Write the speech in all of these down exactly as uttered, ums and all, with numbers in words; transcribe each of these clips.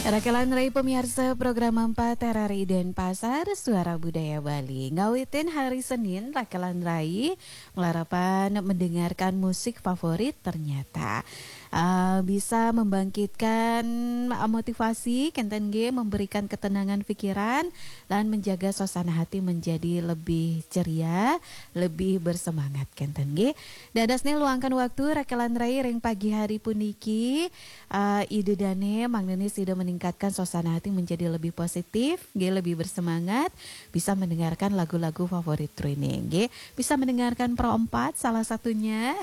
Rakelan Rai, pemirsa program empat R R I Denpasar, Suara Budaya Bali. Ngawitin hari Senin, Rakelan Rai ngelarapan mendengarkan musik favorit ternyata uh, bisa membangkitkan uh, motivasi, kenten nggih, memberikan ketenangan pikiran, dan menjaga suasana hati menjadi lebih ceria, lebih bersemangat, kenten nggih. Dados nih luangkan waktu Rakelan Rai ring pagi hari puniki, uh, Ida Dane mangdene sida meningkatkan suasana hati menjadi lebih positif, nggih, lebih bersemangat, bisa mendengarkan lagu-lagu favorit Training, nggih. Bisa mendengarkan Pro empat salah satunya.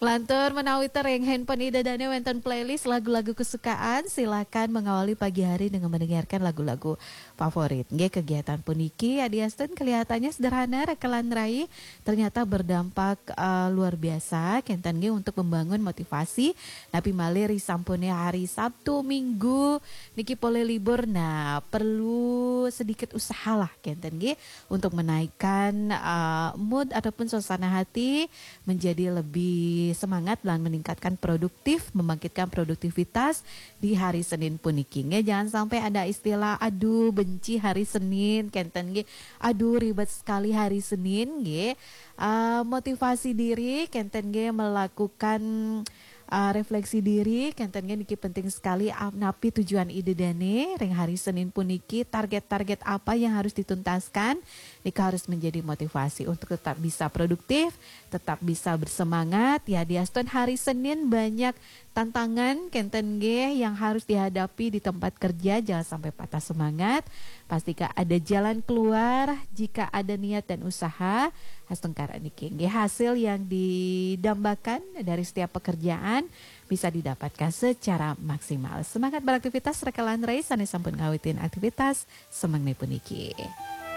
Lantur menawi tering handphone Ida Dane wenten playlist lagu-lagu kesukaan, silakan mengawali pagi hari dengan mendengarkan lagu-lagu favorit. Nggih, kegiatan puniki adiastun kelihatannya sederhana, Rakelan Rai, ternyata berdampak uh, luar biasa, kenten nggih, untuk membangun motivasi. Napi malih ri sampune hari Sabtu Minggu niki polih libur, nah, perlu sedikit usahalah, kenten nggih, untuk menaikkan uh, mood ataupun suasana hati menjadi lebih semangat dan meningkatkan produktif, membangkitkan produktivitas di hari Senin puniki. Nggih, jangan sampai ada istilah, "Aduh, benci hari Senin," kenten nggih. "Aduh, ribet sekali hari Senin," nggih. Uh, motivasi diri, kenten nggih, melakukan uh, refleksi diri, kenten nggih, niki penting sekali. Ap- napi tujuan Ida Dane ring hari Senin puniki, target-target apa yang harus dituntaskan, nika harus menjadi motivasi untuk tetap bisa produktif, tetap bisa bersemangat. Ya, diastun hari Senin banyak tantangan, kenten nggih, yang harus dihadapi di tempat kerja, jangan sampai patah semangat. Pastikan ada jalan keluar jika ada niat dan usaha. Astungkara niki nggih, hasil yang didambakan dari setiap pekerjaan bisa didapatkan secara maksimal. Semangat beraktivitas, Rakelan Rai, sane sampun ngawitin aktivitas semeng puniki.